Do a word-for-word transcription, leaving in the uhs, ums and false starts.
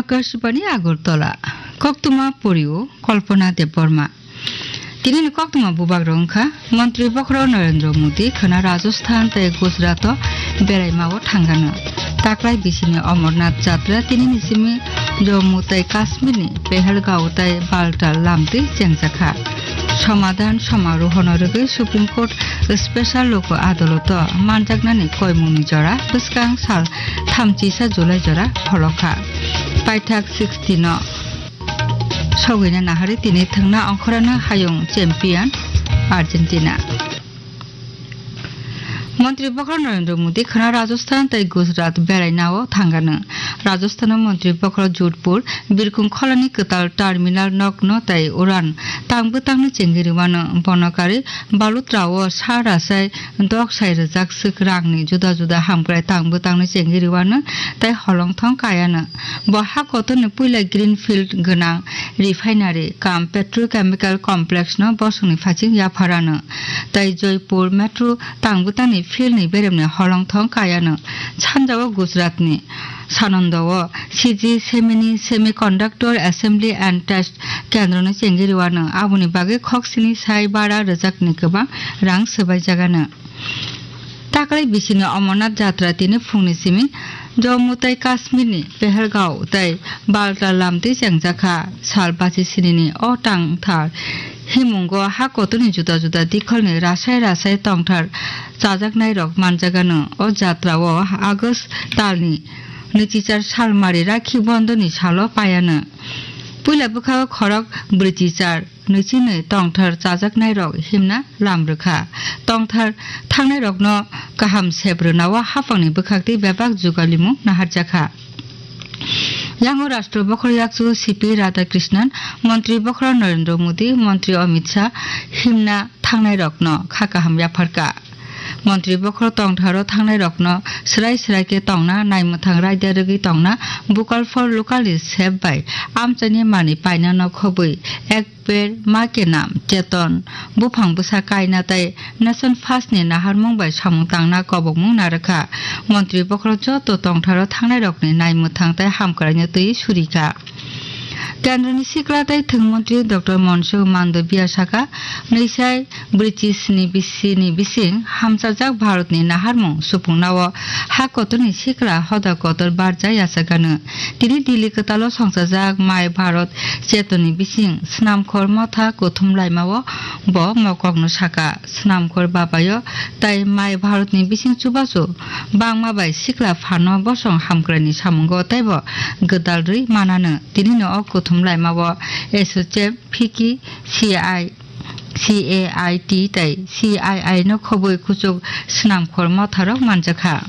Akashbani Agartala. Koktwma porio Kalpana Debbarma. Tinini koktwma bubagrok wngkha Montri Bokhorok Narendra Modi khwna Rajasthan tei Gujarat o beraima o thangano. Taklai bisini Amarnath Jatra tinini simi Jammu tei Kashmir ni Pahalgam tei Baltal lamtwi chengjakha. Somadhan samarohono rwgwi Supreme Court Special Lok Adaloto manjaknani koimungni jora bwskang sal thamchisa July jora pholokha. Paithak sixty no sogwina nahari tini thwngna ongkhorano hayung champion Argentina. Montri Bokhorok Narendra Modi khwna Rajasthan tei Gujarat beraina o thangano. Rajasthan o Montri Bokhorok Jodhpur, Birkhung Kholani kwtal terminal nokno tei uran tang bwtangno chengwi rwano. Bono karwi Balotra o sa rasai dok sai rwjak swk rangni juda juda hamkrai tang bwtangno chengwi rwano tei holongthong kayano. Bo ha kotorni puila Greenfield gwnang refinery cum petrochemical complex no bosongni phaising yapharano tei Joypur metro tang bwtangni field ni beremni holongthong kayano. Sanjao Gujarat ni Sananda o C G Semi ni Semiconductor Assembly and Test kendro no chengwi rwano. Aboni bagwi khoksini sai bara rwjakni kwbang rang swbaijagano. Taklai bisini Amarnath Jatra tini phungni simi Jammu tei Kashmir ni Pahalgam tei Baltal lamtwi chengjakha. Sal basi sinini o tangthar himungo ha kotorni juda juda dikholni rasai rasai tongthar chajaknairok manjagano. O jatra o August talni nwichichar salmari Rakhi Bondhoni salo paiano. Puila bwkha o khorok brwichichar nwichini tongthar chajaknairok himna lam rwkha. Tongthar thangnairokno kaham sep rwnao haphangni bwkhaktwi bebak jugalimung naharjakha. Yango Rashtra Bokhorok Yakchu C P Radhakrishnan, Montri Bokhorok Narendra Modi, Montri Amit Shah himna thangnairokno kha kaham yapharkha. Montri Bokhorok tongtharo thangnairokno swrai swrai khe tongna, naimwthang raida rwgwi tongna, Vocal for Local ni sep bai amchaini manwi paina no khobwi Ek Ped Maa Ke Naam Chetan, buphang bwsa kaina tei Nation First ni naharmung bai samung tangna kobokmung narwkha. Montri Bokhorok joto tongtharo thangnairokni naimwthang tei hamkraino twi surikha. Kendroni sikla tei thwng montri Doctor Mansukh Mandaviya saka, nwisai brwichi sni bisini bising hamchajak Bharatni naharmung supungnao ha kotorni sikla hoda kotor barja yachakgano. Tini Delhi kwtalo songchajak My Bharat Chetanni bising Snamkhor Motha kuthum laimao bo mokokno saka. Snamkhor babayo tei My Bharatni bising chubachu bangma bai sikla phano bosong hamkraini samungo teibo gwdal rwi manano. Tinino o kuthum laimao S O C M, fiki, C I, C A I T tei C I I no khobwi kuchuk Snamkhor Motharok manjakha.